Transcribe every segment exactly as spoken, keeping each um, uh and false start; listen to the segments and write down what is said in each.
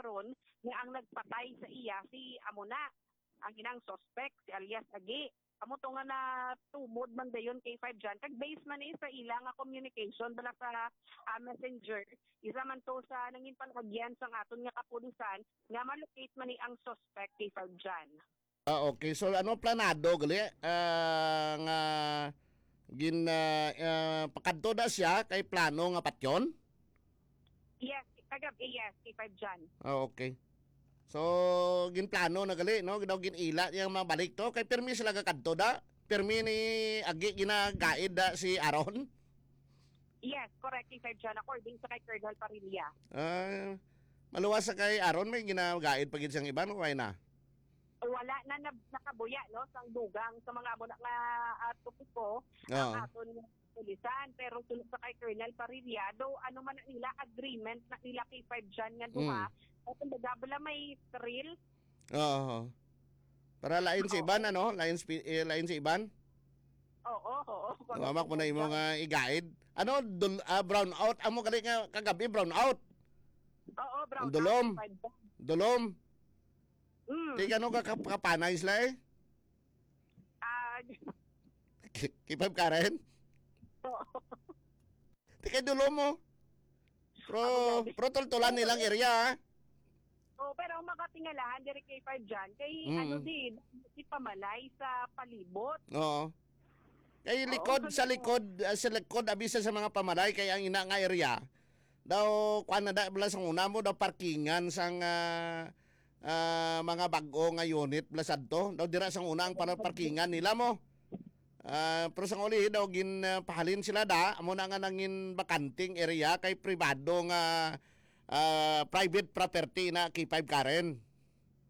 ron nga ang nagpatay sa iya si amo na, ang inang suspect, si alias Agi. Amo to nga natumod man dayon kay Five John. Kag based man ni sa ila nga communication bala sa, ah, messenger, isa man to sa nangin panagyan sang aton nga kapulisan nga malocate man ni ang suspect kay Five John. Ah, okay. So, ano planado gali? Ah, nga gin ah, ah, pakadto na siya kay plano nga patyon? Yes, kagabi, yes, kay Five John. Ah, okay. So, ginplano na gali, no? Daw gin-ila niya mabalik to. Kay pirmi sila gakadto da. Pirmi ni Agi ginagaid da si Aaron. Yes, correct, kay Five John, according sa kay Colonel Parilla. Ah, maluwas sa kay Aaron, may ginagaid pa gid siyang iba, no? Kaya na. Wala na, na nakabuya, no, sang dugang sa mga amo na nga, ah, topiko ang Oo. aton nga pulisan. Pero suno sa kay Colonel Parilla, do ano man na nila, agreement na nila kay Five John nga duha, Mm. At kumbaga, bala may thrill. Oo. Para lain si Oo. Iban, ano? Lain, spi- eh, lain si Iban? Oo, oo. Nawamak mo na imo nga igaid. Ano? Dul- ah, brown out. Amo gali nga kagabi, brown out. Oo, brown Ang dulom. out, Five John. Dulom. Mm. Ti gano ka kap- kapanay sila eh? Ah, K- K five Karen? Oo. Ti kay dulo mo. Pro, Ako, grabe. pro tultulan nilang area, ha? Oh, pero ang makatingalahan diri kay Five John, kay Mm. ano di, di pamalay sa palibot. Oo. Kay Oo, likod, sa sa likod. likod, ah, sa likod, abi sa, sa mga pamalay, kay ang ina nga area, daw, kuan na da, bala sang una mo, daw parkingan sang, ah, ah, mga bag-o nga unit, bala sadto. Daw dira sang una ang para parkingan nila mo. Ah, pero sang uli daw gin, ah, pahalin sila da, amo na nga nangin bakanting area kay pribado nga, ah, private property na K five Karen.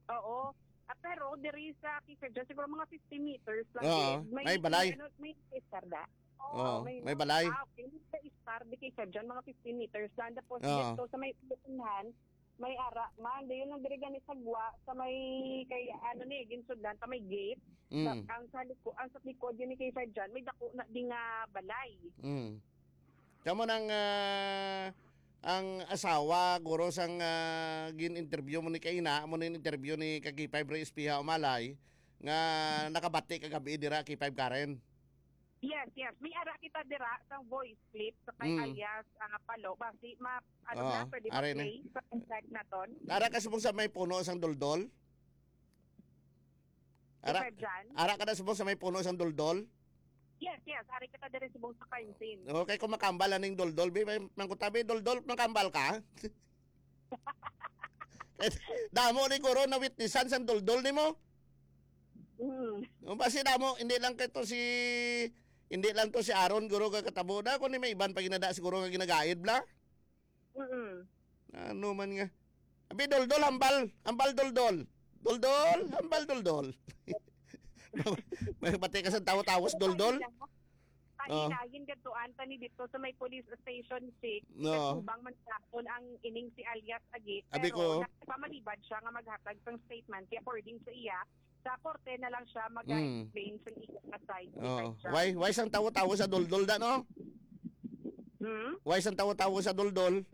Oo. Ah, pero diri sa K five John, siguro mga fifty meters lang Oo, din. May, may balay. may ano, may istar da. Oo, Oo, may may balay. Ah, okay. May istar di K five John, mga fifty meters lang. Tapos Oo. dito sa may unahan, may ara man. Dayon lang diri gani sa gwa, sa may kay ano ni, ginsudlan, sa may gate. Sa, Mm. ang sa liko-, ang sa likod yun ni K five John, may dako na di nga balay. Mm. Kamo nang, ah, ang asawa, guro, sang, ah, gin-interview mo ni kaina, amo ni interview ni ka K five Rey Espiha Umalay, nga nakabati kagabi dira, K five Karen. Yes, yes. May ara kita dira sang voice clip sa kay Mm. alias, ah, Palo. Basi, ma-, ano Oo, na, pwede are na. ma-play sa contact naton? Ara ka subong sa may puno sang duldol? Ara, Sir Jan? Ara ka na subong sa may puno sang duldol? Yes, yes. Ari kita diri subong sa crime scene. Okay, kung makambal aning duldol, bi, may mangkutabi, duldol, makambal ka? Damo ni guro na witnessan sang duldol nimo. Mm. Yung basi damo, hindi lang kay to si, hindi lang to si Aaron, guro, ka katabo na, kundi may iban pa ginada siguro nga ginagaid, bla? Mm. Ano man nga? Abi, duldol, hambal. Hambal, duldol. Duldol, hambal, duldol. May bati ka sa tawo-tawo sa duldol? Kanina, Oh. gingadtuan ta ni dito sa may police station, Chick. No. Katubang man naton ang ining si alias Agi, Abi pero ko. nagpamalibad siya nga maghatag sang statement. Kaya according sa iya, sa korte na lang siya Mm. mag-explain sa iya nga side. Oo. Defense siya. Why, why sang tawo-tawo sa duldol da, no? Hmm? Why sang tawo-tawo sa duldol?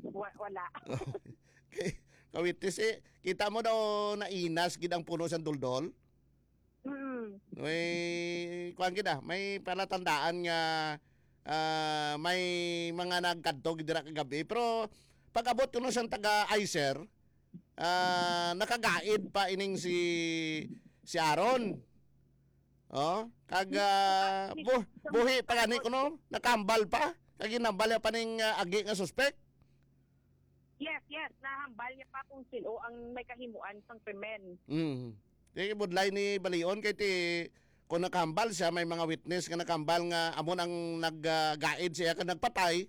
Wa-, wala. Kay, kawitis, eh, kita mo daw nainas gid ang puno sang duldol? Mm. May, kuwan gid, ah, may palatandaan nga, ah, may mga nagkadto gid dira kagabi. Pero pag-abot kuno sang taga-ICER, ah, nakagaid pa ining si, si Aaron. Oh, kag, ah, bu-, buhi pa gani kuno, nakambal pa. Kag ginambal niya pa ning, ah, agi nga suspek. Yes, yes, nahambal niya pa kung sino ang may kahimuan sang krimen. Mm. Kay budlay ni Balion kay ti, kung nakahambal siya, may mga witness nga nakahambal nga amo ang nag, ah, gaid siya kag nagpatay,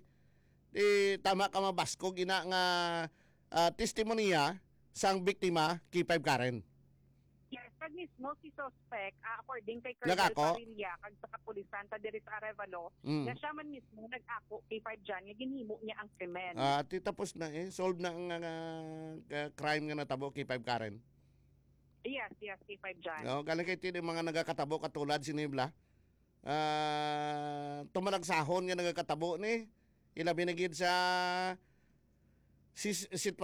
di tama ka mabaskog ina nga, ah, testimonya sang biktima, K five Karen. Yes, kag mismo si suspect, ah, according kay Colonel Nagako? Parilla, kag sa kapulisan ta diri sa Arevalo, Mm. nga siya man mismo nag-ako kay Five John nga ginhimo niya ang krimen. Ah, ti tapos na eh. Solve na ang, ah, ah, crime nga natabo kay Five Karen. Yes, yes, kay Five John. No, galing kay ti mga nagakatabo katulad si Nibla. Ah, tumalagsahon nga nagakatabo ni. Ilabi na gid sa sis-, sitwasyon